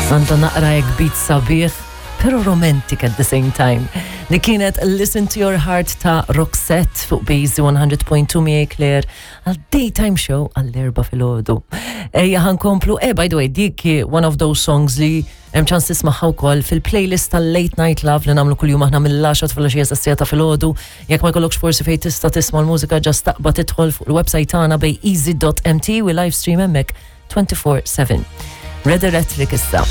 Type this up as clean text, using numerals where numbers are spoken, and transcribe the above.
Għandha naqra hekk beat sabiħ, pero romantic at the same time. Li kienet Listen to Your Heart ta' Roxette fuq Base 100.2 miegħi Claire għal daytime show għall-erba filgħodu. Ejja ħankomplu, eh by the way, dik one of those songs li hemm ċans tismagħha wkoll fil-playlist tal-Late Night Love li nagħmlu kuljum aħna mill-10 filgħaxija sa ta' filgħodu. Jekk ma jkollokx forsi fejn tista' tisma' l-mużika ġast taqbad tidħol fuq il-website tagħna bej easy.mt u live stream hemmhekk 24/7. Red Electric issa.